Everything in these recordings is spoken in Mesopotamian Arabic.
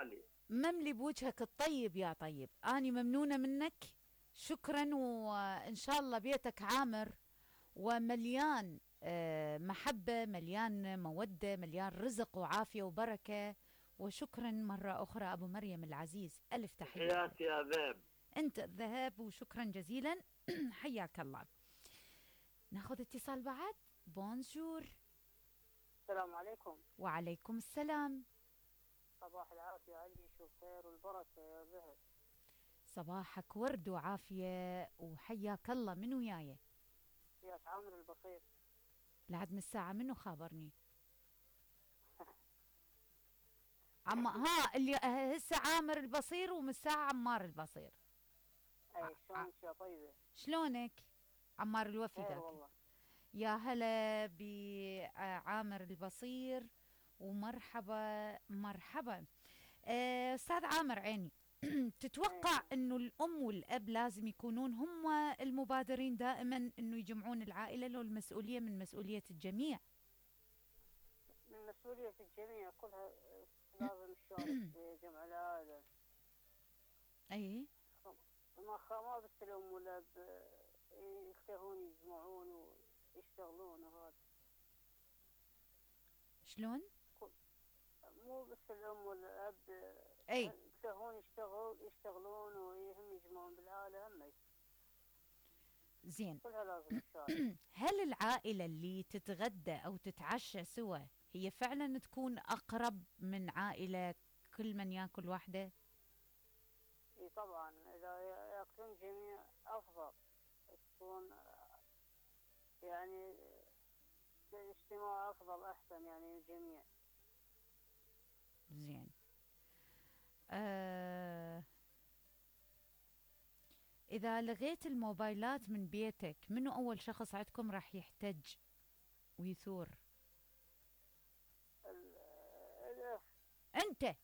غالي. مملي بوجهك الطيب يا طيب، اني ممنونة منك. شكرا، وان شاء الله بيتك عامر ومليان محبة، مليان مودة، مليان رزق وعافية وبركة. وشكرا مرة أخرى أبو مريم العزيز، ألف تحية. تحياتي يا ذئب. أنت الذهب، وشكرا جزيلا. حياك الله. ناخذ اتصال بعد. بونجور. السلام عليكم. وعليكم السلام. صباح العافية علي، شو خير والبركة يا ذهب. صباحك ورد وعافية وحياك الله. من وياي؟ يا عامر البصير. لعد من الساعة منو خابرني؟ ها اللي هسه عامر البصير، ومن الساعة عمار البصير. اي شلونك يا طيبة؟ شلونك؟ عمار الوفي خير ذاك. والله. يا هلا بعامر البصير، ومرحبا مرحبا. استاذ عامر عيني. تتوقع انه الام والاب لازم يكونون هم المبادرين دائما انه يجمعون العائله، لو المسؤوليه من مسؤوليه الجميع؟ من مسؤولية الجميع كلها، لازم نشارك بجمع العائلة. اي ما بس الام والاب يختارون يجمعون ويشتغلون وهذا. شلون؟ مو بس الام والاب اي يختارون يشتغلون وهم يجمعون بالعائلة هم. زين. كلها لازم نشارك. هل العائله اللي تتغدى او تتعشى سوا هي فعلا تكون اقرب من عائله كل من ياكل وحده؟ اي طبعا، اذا ياكلون جميع افضل، تكون يعني الاجتماع افضل احسن يعني الجميع. زين. إذا لغيت الموبايلات من بيتك، منو أول شخص عندكم راح يحتج ويثور؟ الأخ. أنت.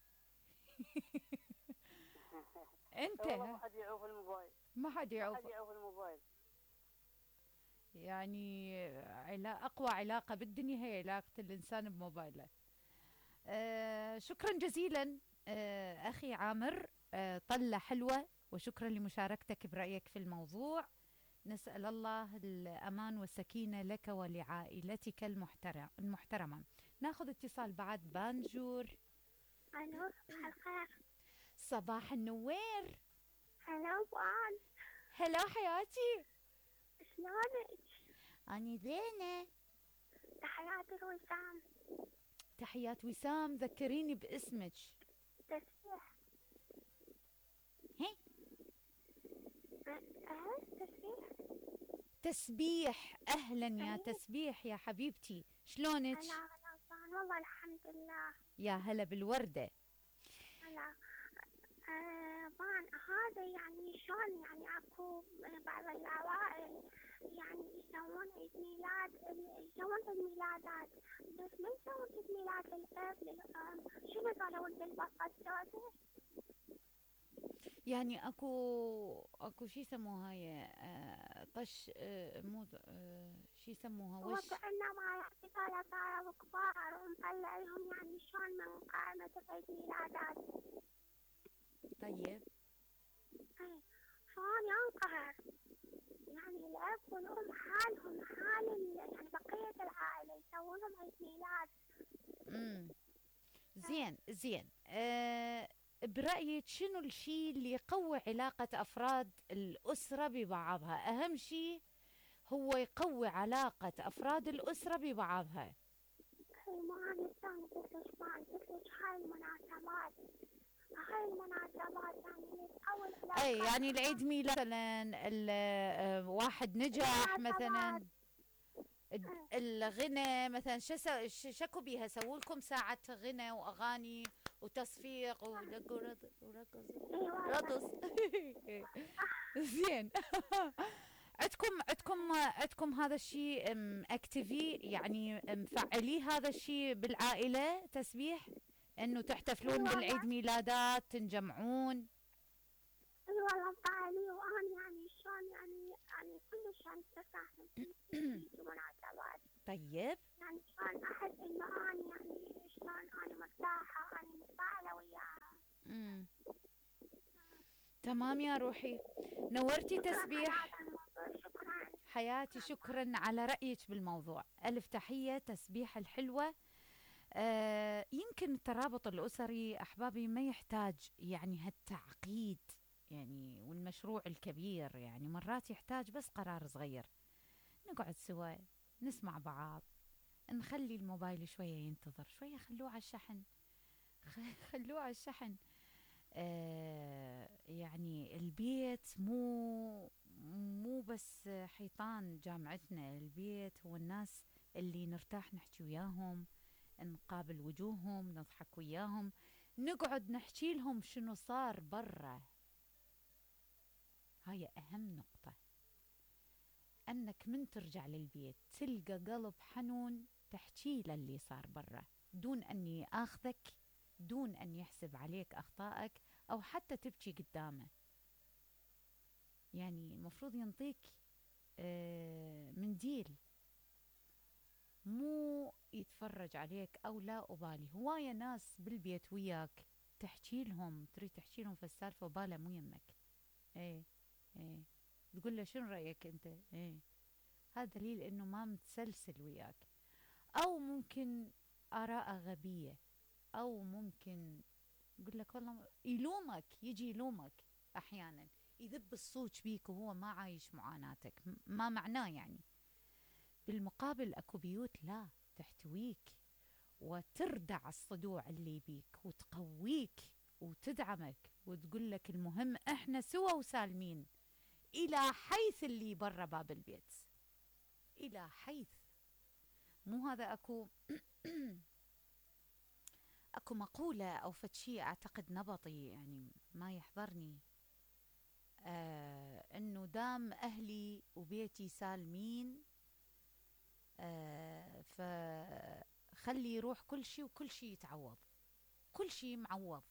أنت. والله ما حد يعوف الموبايل. ما حد يعوف الموبايل. يعني أقوى علاقة بالدنيا هي علاقة الإنسان بموبايله. شكرا جزيلا أخي عامر. طلة حلوة، وشكرا لمشاركتك برأيك في الموضوع. نسأل الله الأمان والسكينة لك ولعائلتك المحترمة. ناخذ اتصال بعد. بانجور. ألو، صباح الخير. صباح النوير. هلا بان. هلا حياتي. شلونك؟ أني زينة. تحياتي وسام. تحيات وسام. ذكريني باسمك. تسبيح. هي تسبيح. تسبيح. أهلا يا تسبيح يا حبيبتي، شلونك؟ هلا بان، والله الحمد لله. يا هلا بالوردة. هلا. بان هذا يعني شلون يعني اكو بعض العوائل يعني يسوون عيد ميلاد، يسوون عيد ميلادات، بس ما يسوون عيد ميلاد للأب للأم. شنو قالوا بالبطة السوداء؟ يعني اكو شي يسموها هاي طش مو شي يسموها هو كأنه ما يعطي صاروا كبار ومطلعيهم يعني شلون من قائمة عيد ميلادات. طيب. اي شلون ينقهر يعني الأب والأم حالهم حال يعني بقية العائلة يسوون لهم عيد ميلاد. زين. برأيك شنو الشيء اللي يقوي علاقة أفراد الأسرة ببعضها؟ أهم شيء هو يقوي علاقة أفراد الأسرة ببعضها. ما نستانس قلتلك هاي المناسبات يعني تقوي العلاقة. أي يعني العيد ميلاد مثلا، واحد نجح مثلا، الغنى مثلا، شكو بيها سووا لكم ساعة غنى وأغاني وتصفيق ورقص. زين. عندكم هذا الشيء اكتيفي، يعني مفعلي هذا الشيء بالعائلة تسبيح، انه تحتفلون بالعيد ميلادات تنجمعون؟ اي والله مفعلي، وانا يعني شلون يعني كلش يعني تفاهم في مناسبات. طيب. يعني شلون احس انه انا يعني شلون انا مرتاحة، انا متفاعلة وياها. مم. تمام يا روحي، نورتي تسبيح. على الموضوع، شكرا. حياتي شكرا على رأيك بالموضوع. ألف تحية. تسبيح الحلوة. يمكن الترابط الأسري أحبابي ما يحتاج يعني هالتعقيد، يعني والمشروع الكبير، يعني مرات يحتاج بس قرار صغير، نقعد سوا، نسمع بعض، نخلي الموبايل شوية ينتظر شوية، خلوه على الشحن. خلوه على الشحن. يعني البيت مو بس حيطان جامعتنا، البيت هو الناس اللي نرتاح نحكي وياهم، نقابل وجوههم، نضحك وياهم، نقعد نحكي لهم شنو صار برا. هاي أهم نقطة، أنك من ترجع للبيت تلقى قلب حنون تحكي له اللي صار برا، دون أن ياخذك، دون أن يحسب عليك أخطائك أو حتى تبكي قدامه. يعني المفروض ينطيك منديل، مو يتفرج عليك أو لا أبالي. هواية ناس بالبيت وياك تحكي لهم، تريد تحكي لهم في السالفة وباله مو يمك. ايه ايه، تقول له شنو رأيك انت؟ ايه، هذا دليل انه ما متسلسل وياك، او ممكن آراء غبية، او ممكن يقول لك والله يلومك، يجي يلومك احيانا، يذب الصوت بيك وهو ما عايش معاناتك، ما معناه يعني. بالمقابل اكو بيوت لا، تحتويك وتردع الصدوع اللي بيك وتقويك وتدعمك وتقول لك المهم احنا سوا وسالمين، الى حيث اللي برا باب البيت، الى حيث. مو هذا اكو اكو مقولة او فتشي اعتقد نبطي يعني ما يحضرني، انه دام اهلي وبيتي سالمين فخلي يروح كل شيء وكل شيء يتعوض، كل شيء معوض،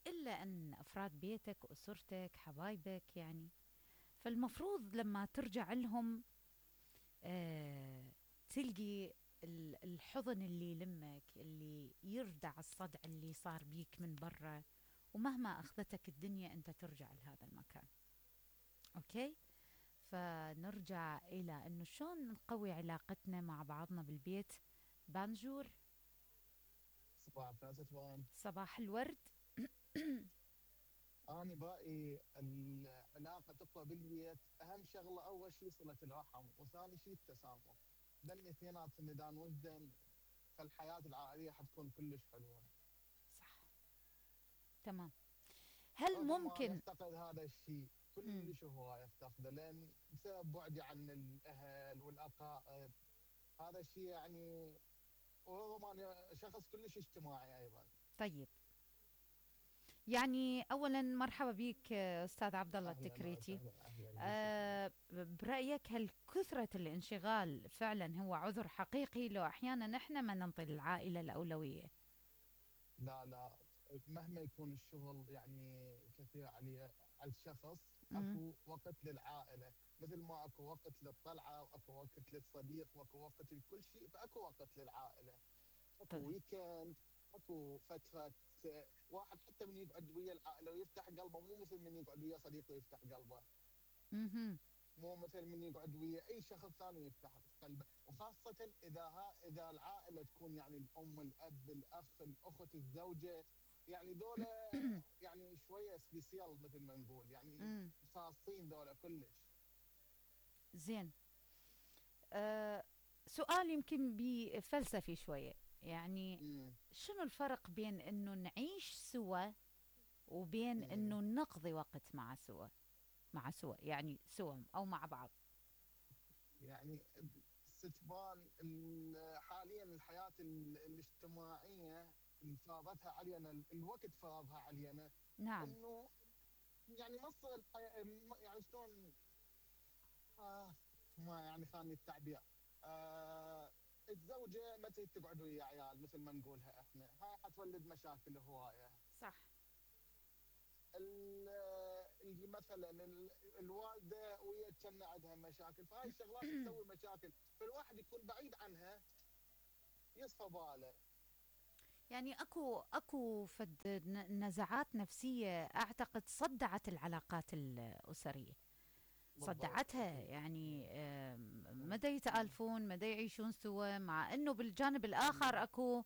إلا أن أفراد بيتك وأسرتك حبايبك يعني. فالمفروض لما ترجع لهم تلقي الحضن اللي يلمك، اللي يردع الصدع اللي صار بيك من برا، ومهما أخذتك الدنيا أنت ترجع لهذا المكان. أوكي، فنرجع إلى أنه شلون نقوي علاقتنا مع بعضنا بالبيت. بانجور، صباح الخير ستوان. صباح الورد. أنا برأيي العلاقة تقوى بالبيت، أهم شغلة أول شيء صلة الرحم، وثاني شيء التسامح. لأن اثنيناتهم إذا وجدن فالحياة العائلية حتكون كلش حلوة. صح، تمام. هل رغم ما ممكن يفتقد هذا الشيء كلش، هو يفتقده لأن بسبب بعدي عن الأهل والأقارب، هذا الشيء يعني. ورغم أنا شخص كلش اجتماعي أيضا. طيب، يعني اولا مرحبا بك استاذ عبد الله أهلا التكريتي. وسهلا، أهلا برايك هل كثره الانشغال فعلا هو عذر حقيقي لو احيانا احنا ما ننطي العائله الاولويه؟ لا لا، مهما يكون الشغل يعني كثير على الشخص، مم. اكو وقت للعائله، مثل ما اكو وقت للطلعه واكو وقت للصديق واكو وقت لكل شيء، فاكو وقت للعائله. اكو طيب. ويكند، اكو فتره واحد حتى من يقعد ويا العائله ويفتح قلبه، مو مثل من يقعد ويا صديقه ويفتح قلبه، مهم. مو مثل من يقعد ويا اي شخص ثاني يفتح قلبه. وخاصه اذا العائله تكون يعني الام، الاب، الاخ، الاخت، الزوجه، يعني ذولا يعني شويه سبيسيال مثل ما نقول، يعني مم. خاصين ذولا كلش. زين. سؤال يمكن بفلسفي شويه، يعني امم شنو الفرق بين انه نعيش سوا وبين امم انه نقضي وقت مع سوا يعني سوا او مع بعض؟ يعني استثمار حاليا الحياه الاجتماعيه اللي فرضتها علينا، الوقت فرضها علينا، نعم. انه يعني نص الحياه، يعني شلون، ما يعني خاني التعبير. الزوجه ما تريد تقعد ويا عيال مثل ما نقولها احنا، هاي حتولد مشاكل هوايه. صح. اللي مثلا الوالده ويا كان عندها مشاكل، فهاي الشغلات تسوي مشاكل، فالواحد يكون بعيد عنها يصفى باله. يعني اكو نزعات نفسيه اعتقد صدعت العلاقات الاسريه، بالضبط صدعتها. اكيد. يعني مم. مدى يتآلفون، مدى يعيشون سوا، مع انه بالجانب الاخر اكو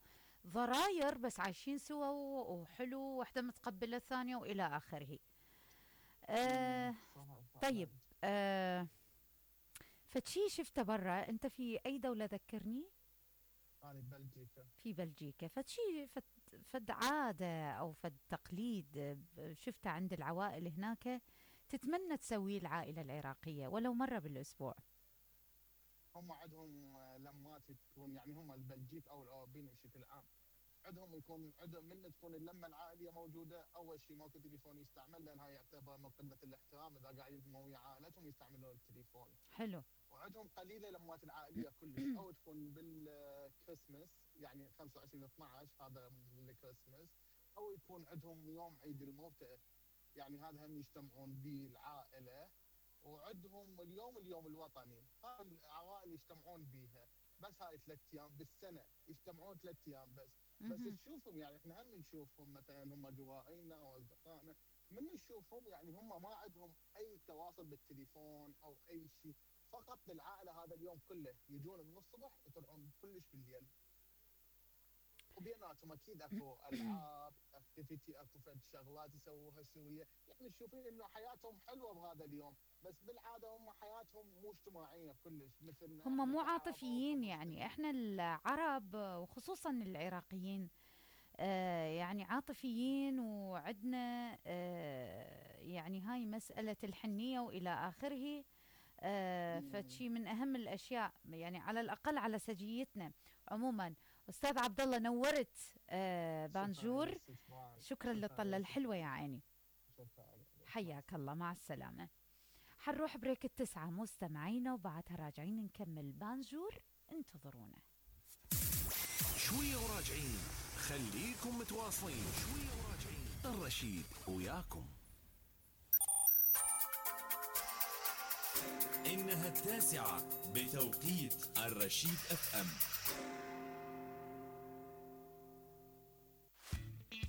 ضراير، بس عايشين سوا وحلو، واحدة متقبلة الثانية والى اخره. آه صح طيب. فعلا. آه فشي شفته برا، انت في اي دولة ذكرني؟ انا ببلجيكا. في بلجيكا. فشي فد عادة او فد تقليد شفته عند العوائل هناك تتمنى تسويه العائلة العراقية ولو مرة بالاسبوع. هم عندهم لمات تكون، يعني هم البلجيك او الاوروبيين بشكل عام، عندهم يكون عندهم من تكون اللمه العائليه موجوده. اول شيء ماكو تليفون يستعمل، لان هاي يعتبر من قله الاحترام اذا قاعدين ويا عائلتهم يستعملون التليفون. حلو. وعندهم قليله لمات العائليه كلش، او تكون بالكريسماس يعني 25 12 هذا الكريسماس، او يكون عندهم يوم عيد الموتى، يعني هذا هم يجتمعون به العائله. وعندهم اليوم الوطني، هاي العوائل يجتمعون بيها. بس هاي 3 ايام بالسنه يجتمعون 3 ايام بس. بس مهم. تشوفهم يعني احنا هم نشوفهم مثلا هم جوائنا او اصدقائنا، من نشوفهم يعني هم ما عندهم اي تواصل بالتليفون او اي شيء، فقط بالعائله هذا اليوم كله يجون من الصبح يطلعون كلش بالليل. وبيناتهم اكيد اكو العاب اكتيفيتي، اكو فد شغلات يسووها سويه، يعني تشوفين انه حياتهم حلوه بهذا اليوم. بس بالعاده هم حياتهم مو اجتماعيه كلش مثلنا هم احنا مو كعرب او عاطفيين، يعني كمسلمين. احنا العرب وخصوصا العراقيين يعني عاطفيين، وعندنا يعني هاي مسألة الحنية وإلى آخره. مم. فشي من أهم الأشياء، يعني على الأقل على سجيتنا. عموما أستاذ عبد الله نورت شكرا بانجور. لك ست معاذ. شكرا شكرا للطلة لك ست الحلوة يا معاذ. عيني. شكرا لك مع حياك الله، السلامه. مع السلامة. حنروح بريك التسعة مستمعينا، وبعدها راجعين نكمل بانجور، انتظرونا. شوية وراجعين، خليكم متواصلين. شوية وراجعين، الرشيد وياكم. إنها 9 بتوقيت الرشيد اف ام.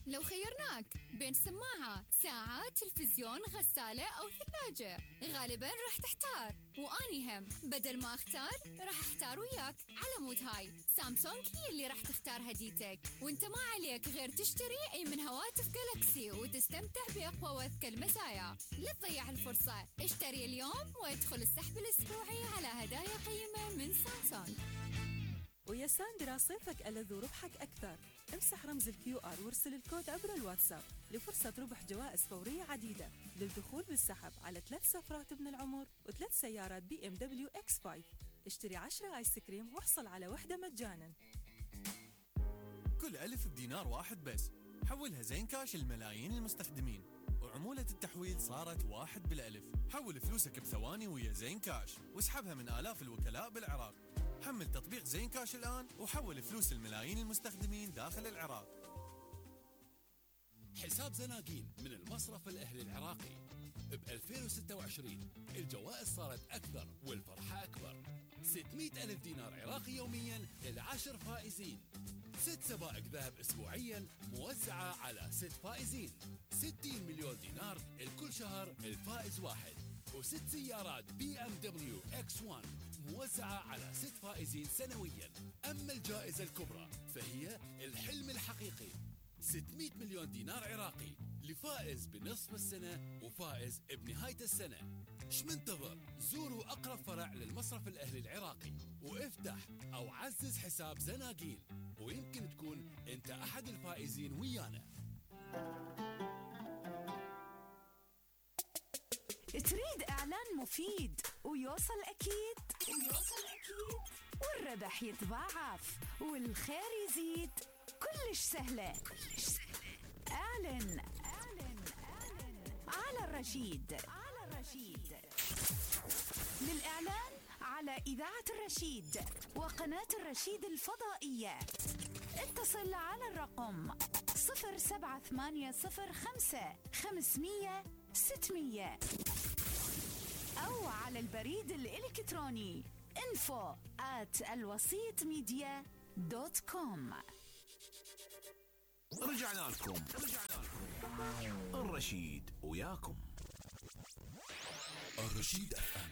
لو خيرناك بين سماعة، ساعة، تلفزيون، غسالة أو ثلاجة، غالباً راح تحتار. وأني هم بدل ما أختار راح أحتار وياك. على مود هاي سامسونج هي اللي راح تختار هديتك، وانت ما عليك غير تشتري أي من هواتف جالكسي وتستمتع بأقوى وأذكى المزايا. لا تضيع الفرصة، اشتري اليوم وادخل السحب الأسبوعي على هدايا قيمة من سامسونج. ويا ساندرا صيفك ألذ وربحك أكثر. امسح رمز الQR وارسل الكود عبر الواتساب لفرصة ربح جوائز فورية عديدة للدخول بالسحب على 3 سفرات ابن العمر و3 سيارات BMW X5. اشتري 10 آيس كريم واحصل على وحدة مجانا. كل ألف بدينار واحد بس، حولها زين كاش لملايين المستخدمين، وعمولة التحويل صارت 1 بالألف. حول فلوسك بثواني ويا زين كاش، واسحبها من آلاف الوكلاء بالعراق. حمل تطبيق زين كاش الآن وحول فلوس الملايين المستخدمين داخل العراق. حساب زناقين من المصرف الأهلي العراقي. ب 2026 الجوائز صارت أكثر والفرحة أكبر. 600 ألف دينار عراقي يوميا ل10 فائزين. 6 سبائك ذهب أسبوعيا موزعة على 6 فائزين. 60 مليون دينار الكل شهر الفائز واحد. و6 سيارات BMW X1 موزعة على 6 فائزين سنويا. أما الجائزة الكبرى فهي الحلم الحقيقي، 600 مليون دينار عراقي لفائز بنصف السنة وفائز بنهاية السنة. ايش منتظر؟ زوروا أقرب فرع للمصرف الأهلي العراقي وافتح أو عزز حساب زناقين، ويمكن تكون أنت أحد الفائزين ويانا. تريد إعلان مفيد ويوصل أكيد والربح يتضاعف والخير يزيد؟ كلش سهلة. اعلن على الرشيد. للإعلان على إذاعة الرشيد وقناة الرشيد الفضائية اتصل على الرقم 07805 500 600 أو على البريد الإلكتروني info@alwasitmedia.com. رجعنا لكم الرشيد وياكم. الرشيد FM